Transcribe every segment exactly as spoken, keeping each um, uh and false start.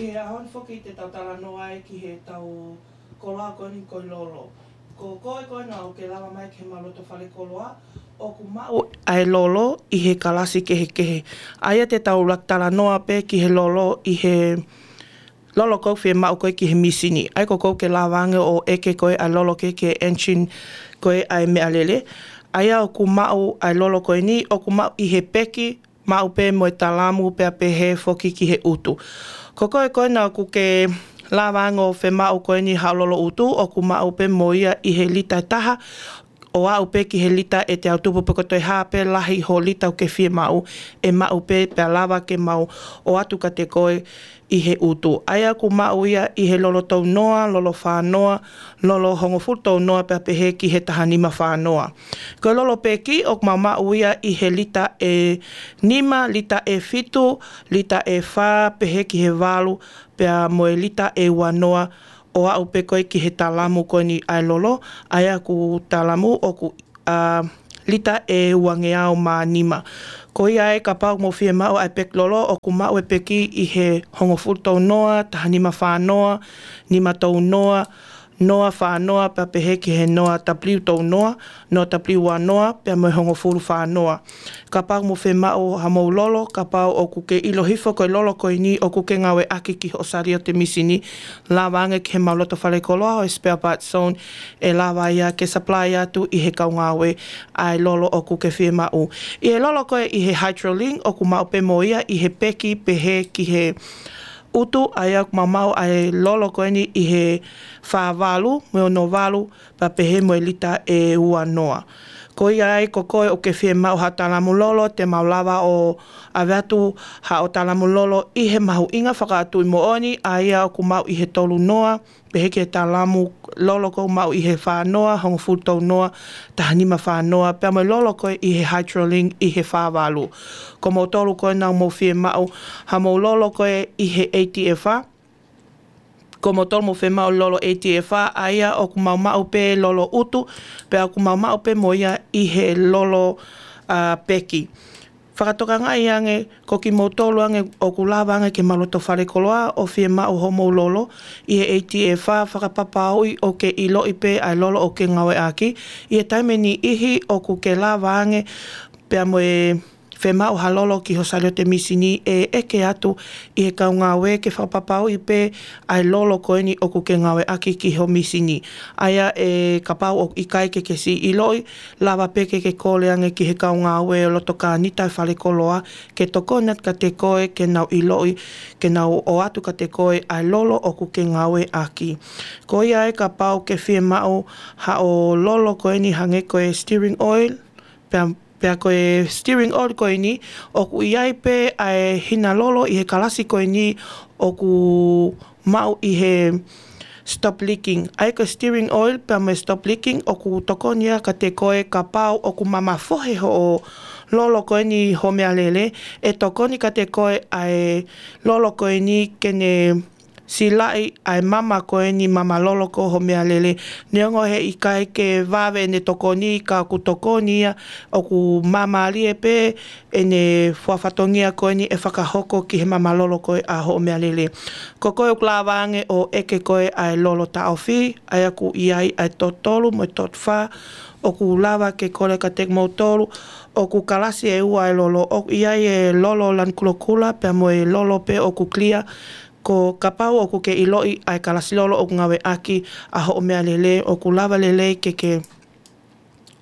He ʻaho ni foki te tau talanoa ai ki he tau koloa ko eni ko e lolo. Ko koe ko ena ʻoku ke lava mai ki he mau loto fale koloa, ʻoku maʻu ʻa e lolo ʻi he kalasi kehekehe. ʻA ia te tau laka talanoa pē ki he lolo ʻi he lolo ʻoku fiemaʻu ko ē ki he mīsini. ʻA ia ko koe ʻoku ke lava ange ʻo ʻeke ko ē ʻa e lolo ko ē ki he engine ko ē ʻa e meʻalele. ʻA ia ʻoku maʻu ʻa e lolo ko eni, ʻoku maʻu ʻi he peki, maʻu pē mo e talamu pea pehē foki ki he ʻutu. Ko koe ko ena ʻoku ke lava ange ʻo fiemaʻu ko eni haʻo lolo ʻutu, ʻoku maʻu pē mo ia ʻi he lita ʻe taha, ʻo aʻu pē ki he lita ʻe teau tupu, pe ko e toe hā pē lahi ho lita ʻoku ke fiemaʻu, ʻe maʻu pē pea lava ke mau ʻoatu kiate koe ʻi he ʻutu. ʻA ia ʻoku maʻu ia ʻi he lolo tolu noa, lolo fā noa, lolo hongofulu tolu noa pea pehē ki he taha nima fā noa. Ko e lolo peki ʻoku mau maʻu ia ʻi he lita ʻe nima, lita ʻe fitu, lita ʻe fā, pehē ki he valu, pea mo e lita ʻe ua noa, ʻo aʻu pē ko ē ki he talamu ko eni ʻa e lolo, ʻa ia ʻoku talamu ʻoku, ʻa, lita ʻe uangeau mā nima. Ko ia ai kapau ʻoku mou fiemaʻu ʻa e peki lolo, ʻoku maʻu e peki ʻi he hongofulu tolu noa, taha nima fā noa, nima tolu noa, noa fā noa pea pehē ki he noa W tolu noa, noa W ua noa, pea mo e hongofulu fā noa. Kapau ʻoku mou fiemaʻu haʻamou lolo, kapau ʻoku ke ʻilo hifo ko e lolo ko eni ʻoku ke ngāueʻaki ki hoʻo saliote mīsini, lava ange ki he mau loto fale koloa, ʻo e spare part zone, ʻe lava ia ke supply atu ʻi he kau ngāue ʻa e lolo ʻoku ke fiemaʻu. ʻI he lolo ko ē ʻi he Hydrolink, ʻoku maʻu pē mo ia ʻi he peki pehē ki he ʻutu, ʻa ia ʻoku mau maʻu ʻa e lolo ko eni ʻi he fā valu, mo e ono valu, pea pehē mo e lita ʻe ua noa. Ko ia ai ko koe ʻoku ke fiemaʻu haʻo talamu lolo, te mau lava ʻo ʻave atu haʻo talamu lolo ʻi he mahuʻinga fakatuʻi moʻoni, ʻa ia ʻoku maʻu ʻi he tolu noa, pehē ki he talamu lolo ʻoku maʻu ʻi he fā noa, hongofulu tolu noa, taha nima fā noa, pea mo e lolo ko ē ʻi he Hydrolink ʻi he fā valu. Ko moutolu ko ena ʻoku mou fiemaʻu haʻamou lolo ko ē ʻi he A T F R, ko moutolu ʻoku mou fiemaʻu lolo A T F R, ʻa ia ʻoku mau maʻu pē lolo ʻutu, pea ʻoku mau maʻu pē mo ia ʻi he lolo, ʻa, peki. Fakatokangaʻi ange, ko kimoutolu ange ʻoku lava ange ki he mau loto fale koloa ʻo fiemaʻu hoʻomou lolo ʻi he A T F R, fakapapauʻi ʻoku ke ʻiloʻi pē ʻa e lolo ʻoku ke ngāueʻaki. ʻI he taimi ʻe niʻihi ʻoku ke lava ange pea mo e fiemaʻu ha lolo ki ho saliote mīsini, ʻe ʻeke atu ʻi he kau ngāue ke fakapapauʻi pē ʻa e lolo ko eni ʻoku ke ngāueʻaki ki ho mīsini. ʻA ia ʻe kapau ʻoku ʻikai ke ke siʻi ʻiloʻi, lava pē ke ke kole ange ki he kau ngāue ʻo loto kānita ʻa e fale koloa, ke tokoni atu kiate koe ke nau ʻiloʻi, ke nau ʻoatu kiate koe ʻa e lolo ʻoku ke ngāueʻaki. Ko ia ai kapau ʻoku ke fiemaʻu haʻo lolo ko eni hangē ko e steering oil, pea, pea ko e steering oil ko eni, ʻoku ʻi ai pē ʻa e hina lolo ʻi he kalasi ko eni ʻoku maʻu ʻi he stop leaking. ʻA ia ko e steering oil pea mo e stop leaking ʻoku tokoni ia kiate koe kapau ʻoku mamafohe hoʻo lolo ko eni ho meʻalele, ʻe tokoni kiate koe ʻa e lolo ko eni ke ne silaʻi ʻa e mama ko eni, mama lolo ko ē ho meʻalele. Neongo he ʻikai ke vave ʻene tokoni, ka ʻoku tokoni ia, ʻoku māmālie pē ʻene fua fatongia ko eni ʻe fakahoko ki he mama lolo ko ē ʻa hoʻo meʻalele. Ko koe ʻoku lava ange ʻo ʻeke ko ē ʻa e lolo taʻofi, ʻa ia ʻoku ʻi ai ʻa e tot tolu mo e tot fā, ʻoku lava ke kole kiate kimoutolu, ʻoku kalasi ʻe ua ʻa e lolo, ʻoku ʻi ai e lolo lanu kulokula, pea mo e lolo pē ʻoku clear, ko kapau ʻoku ke ʻiloʻi ʻa e kalasi lolo ʻoku ngāueʻaki ʻa hoʻo meʻalele, ʻoku lava lelei ke ke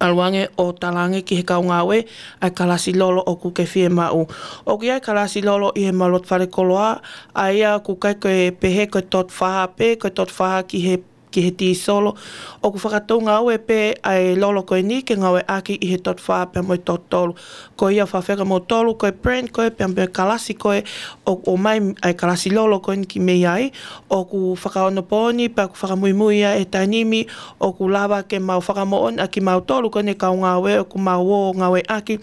ʻalu ange ʻo tala ange ki he kau ngāue ʻa e kalasi lolo ʻoku ke fiemaʻu. ʻOku ʻi ai e kalasi lolo ʻi he mau loto fale koloa, ʻa ia ʻoku ʻikai ko e pehē ko e tot fā pē, ko e tot fā ki he, ki he tīsolo. ʻOku fakatou ngāue pē ʻa e lolo ko eni ke ngāueʻaki ʻi he tot fā pea mo e tot tolu. Ko ia fafeka mo tolu, ko e brand ko ē pea mo e kalasi ko ē ʻoku ʻomai ʻa e kalasi lolo ko eni ki mei ai, ʻoku fakaonopooni pea ʻoku fakamuimui ia ʻe he taimi ni, ʻoku lava ke mau fakamoʻoni ʻa kimautolu ko eni kau ngāue ʻoku mau ō ngāueʻaki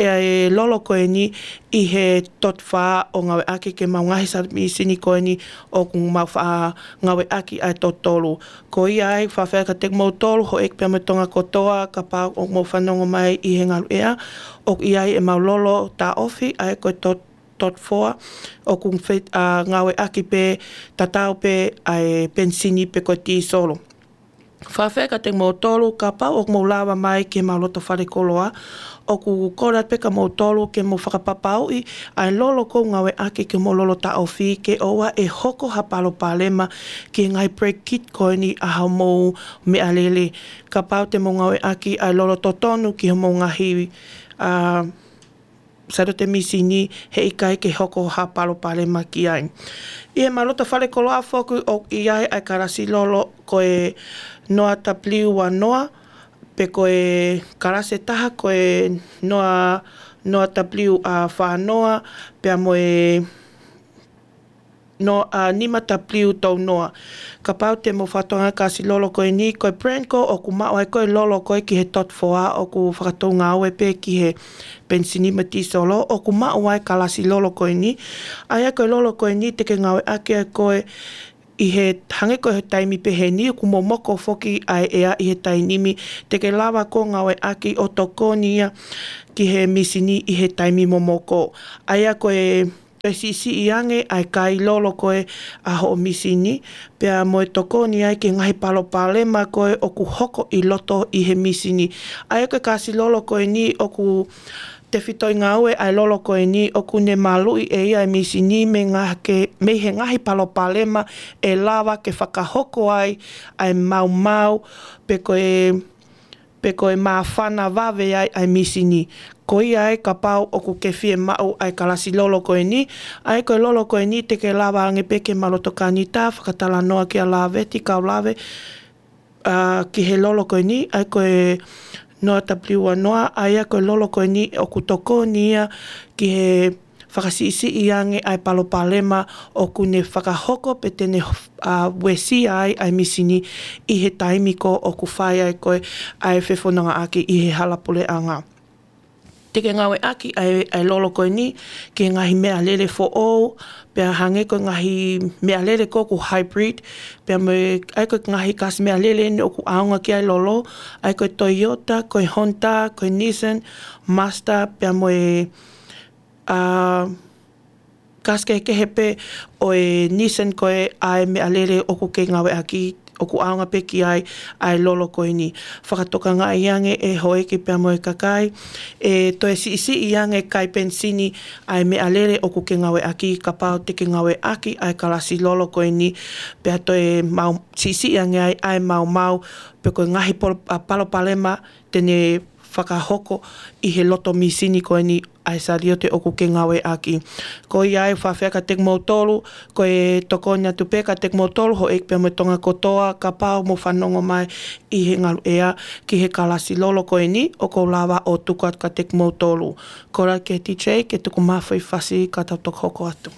e lolo ko eni ʻi he tot fā ʻo ngāueʻaki ki he mau ngaahi saliote mīsini ko eni ʻoku mau faʻa ngāueʻaki ʻa e tot tolu. Ko ia ai fafeka kiate kimoutolu, houʻeiki pea mo Tonga kotoa, kapau ʻoku mou fanongo mai ʻi he ngaluʻea, ʻoku ʻi ai e mau lolo taʻofi, ʻa ia ko e tot tot four, ʻoku fe-, ʻa, ngāueʻaki pē, tatau pē ʻa e penisini pe ko e tīsolo. Fakafeʻiloaki kiate kimoutolu, kapau ʻoku mou lava mai ki he mau loto fale koloa, ʻoku kole atu pē kia moutolu ke mou fakapapauʻi ʻa e lolo ʻoku ngāueʻaki ki homou lolo taʻofi ke ʻoua ʻe hoko ha palopalema ki he ngaahi brake kit ko eni ʻa hoʻomou meʻalele. Kapau te mou ngāueʻaki ʻa e lolo totonu ki homou ngaahi, ʻa, sailote misini, heʻikai ke hoko ha palopalema ki ai. ʻI he mau loto fale koloa foki ʻoku ʻi ai ʻa e kalasi lolo ko e noa W ua noa, pe ko e kalasi ʻe taha ko e noa, noa W ʻa fā noa, pea mo e noa, ʻa, nima W tolu noa. Kapau te mou fakatokangaʻi ʻa e kalasi lolo ko eni, ko e brand ko ē ʻoku maʻu ai ko ē lolo ko ē ki he tot four ʻoku fakatou ngāue pē ki he penisini mo e tīsolo, ʻoku maʻu ai ʻa e kalasi lolo ko eni. ʻA ia ko e lolo ko eni te ke ngāueʻaki ʻa koe ʻi he hangē ko e taimi pehē ni, ʻoku momoko foki ʻa e ʻea ʻi he taimi ni, te ke lava koe ʻo ngāueʻaki ʻo tokoni ia ki he misini ʻi he taimi momoko. ʻA ia ko e, ko e siʻisiʻi ange ʻa e kai lolo ko ē ʻa hoʻo misini, pea mo e tokoni ai ki he ngaahi palopalema ko ē ʻoku hoko ʻi loto ʻi he misini. ʻA ia ko e kalasi lolo ko eni ʻoku tefitoʻi ngāue ʻa e lolo ko eni ʻoku ne maluʻi ʻe ia ʻa e misini mei he ngaahi ke-, mei he ngaahi palopalema ʻe lava ke fakahoko ai ʻa e maumau pe ko e, pe ko e māfana vave ai ʻa e misini. Ko ia ai kapau ʻoku ke fiemaʻu ʻa e kalasi lolo ko eni, ʻa ia ko e lolo ko eni te ke lava ange pē ke mau loto Kanita, fakatalanoa kia Laveti, kau Lave, ʻa, ki he lolo ko eni, ʻa ia ko e noa W ua noa, ʻa ia ko e lolo ko eni ʻoku tokoni ia ki he fakasiʻisiʻi ange ʻa e palopalema ʻoku ne fakahoko pe te ne, ʻa, uesia ai ʻa e misini ʻi he taimi ko ē ʻoku fai ai ko ē ʻa e fefonongaʻaki ʻi he hala puleʻanga. Te ke ngāueʻaki ʻa e, ʻa e lolo ko eni ki he ngaahi meʻalele foʻou, pea hangē ko e ngaahi meʻalele ko ē ʻoku hybrid, pea mo e, ʻa ia ko e ngaahi kalasi meʻalele eni ʻoku ʻaonga ki ai e lolo, ʻa ia ko e Toyota, ko e Honda, ko e Nissan, Mazda, pea mo e, ʻa, kalasi kehekehe pē ʻo e Nissan ko ē ʻa e meʻalele ʻoku ke ngāueʻaki, ʻoku ʻaonga pē ki ai ʻa e lolo ko eni. Fakatokangaʻi ange ʻe houʻeiki pea mo e kakai, ʻe toe siʻisiʻi ange kai penisini ʻa e meʻalele ʻoku ke ngāueʻaki kapau te ke ngāueʻaki ʻa e kalasi lolo ko eni, pea toe mau siʻisiʻi ange ai ʻa e maumau, pe ko e ngaahi pol-, ʻa, palopalema te ne fakahoko ʻi he loto misini ko eni ʻa e saliote ʻoku ke ngāueʻaki. Ko ia ai fakafeʻiloaki kiate kimoutolu, ko e tokoni atu pē kiate kimoutolu, houʻeiki pea mo Tonga kotoa, kapau mou fanongo mai ʻi he ngaluʻea ki he kalasi lolo ko eni, ʻoku ou lava ʻo tuku atu kiate kimoutolu. Kole ki he D J ke tuku mai ha foʻi fasi ka tau toki hoko atu.